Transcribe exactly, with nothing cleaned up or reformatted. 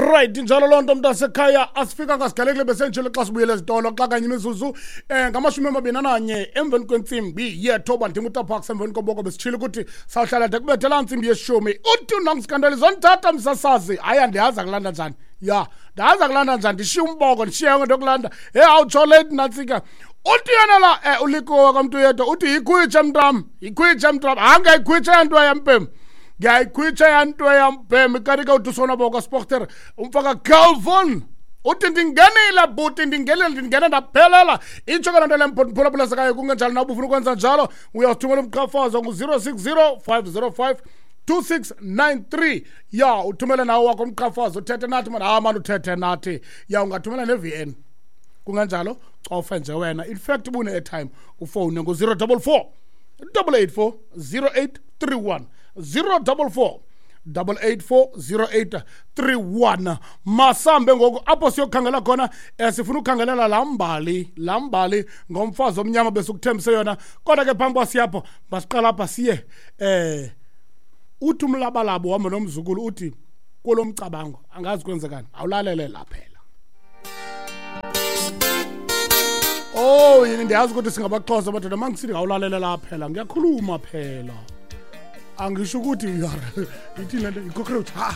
Right, njalo loo nto mntasekhaya, asifika ngasigalekile besenjile xa sibuyele ezitolo xa kanye imizuzu um ngamashumi amabini ananye emveni kwentsimbi yethoba. Ndingutaparks emveni koboko besitshile ukuthi sawuhlala de kubethe laa ntsimbi yeshumi. Uthi unangisikandelizo ndithatha msasazi, hayi andiyazi akulanda njani, ya ndazi akulanda njani, ndishiye umboko ndishiye yonke into yokulanda. He awutsho late nantsika. Uthi yena la um ulikowa kamntu yedwa uthi yikhwitshe mntam, yikhwitshe mntam, hayi ngayikhwitshe yanto yampem, ngiyayikhwitsha yanto yampem. Kanti ke uthi usonwabo kwasporter umfaka Calvin uthi ndingenile bhuti, ndingenile, ndingene ndaphelela. Itsho ke loo nto le mphulaphula sekayo, kungenjalo nawe ubufuna ukwenza njalo uyawuthumela umqhafazo ngu-zero six zero five zero five two six nine three. Ya uthumele nawo wakho umqhafazo, uthethe nathi mani, hayi mani uthethe nathi. Ya ungathumela ne-V N kunganjalo, cofe nje wena. In fact ubune-airtime ufowune ngu-zero double four double eight four zero eight three one, zero double four double eight four zero eight three one. Masambe ngoku apho siyokhangela khona, eh, sifuna ukukhangelela laa mbali, laa mbali ngomfazi omnyama besikuthembise yona. Kodwa ke phambi kwasiyapho masiqala apha siye eh uthi umlabalabo uhamba nomzukulu uthi kulo mcabango angazi kwenzekani, awulalele la phela. Oh yini ndiyazi ukuthi singabaxhosa madoda, mangisithi ngawulalela la phela ngiyakhuluma phela, angisho ukuthi ithini le nto, i-cockroach. Ha.